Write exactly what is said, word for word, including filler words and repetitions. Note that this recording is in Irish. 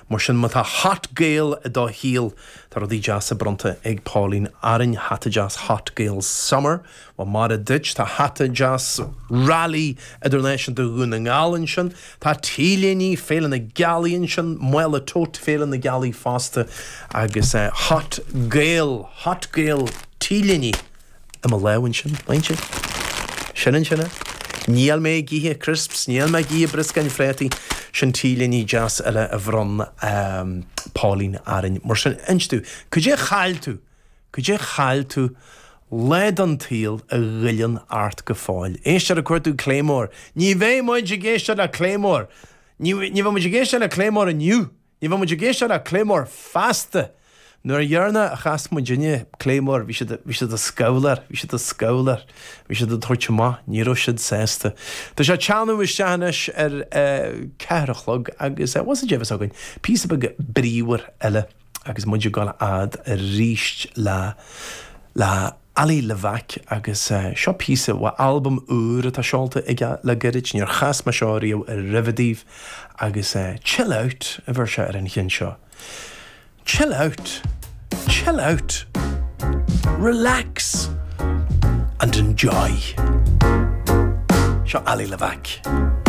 Mar sin má tá Hot Gael i do shaol tá rudaí deasa bronnta ag Pauline orainn hata deas Hot Gael Summer Well maith duit tá hata deas Rally Idirnáisiúnta Dhún na nGall ansin, Tá T-léine Féile na Gealaí ansin, mála tote Féile na Gealaí fosta agus uh, Hot Gael Hot Gael T-léine i mo lámh ansin leinse. Sin ansin Níl mé ag ithe crisps, níl mé ag ithe brioscáin phréataí sin T-léine deas eile a bhronn um, Pauline orainn. Mar sin inis domh, cad é chaill tú, cad é chaill tú le den tsaol a ghoilleann ort go fóill. Éistear ag cuartú Claymore. Ní bheidh muid ag éisteacht le Claymore. Ní bheidh muid ag éisteacht le Claymore inniu. Ní bheidh muid ag éisteacht le Claymore feasta. Nuair a dhéarna a chas muidinne Claymore bhí siad bhí siad ag scabhlar, bhí siad ag scabhlar, bhí siad ag tabhairt amach, ní raibh siad sásta. Tá sé teannadh isteach anois ar ceathair a chlog agus was a dhéhas againn, píosa beag bríomhar eile agus muid ag dul fhad arís le le Ali Levack agus uh, seo píosa ó albam úr atá seolta aige le gairid níor chas mé seo riamh roimhe daoibh agus uh, chill out a bheir sé ar an cheann seo. Chill out, chill out, relax and enjoy. Seo Ali Levack.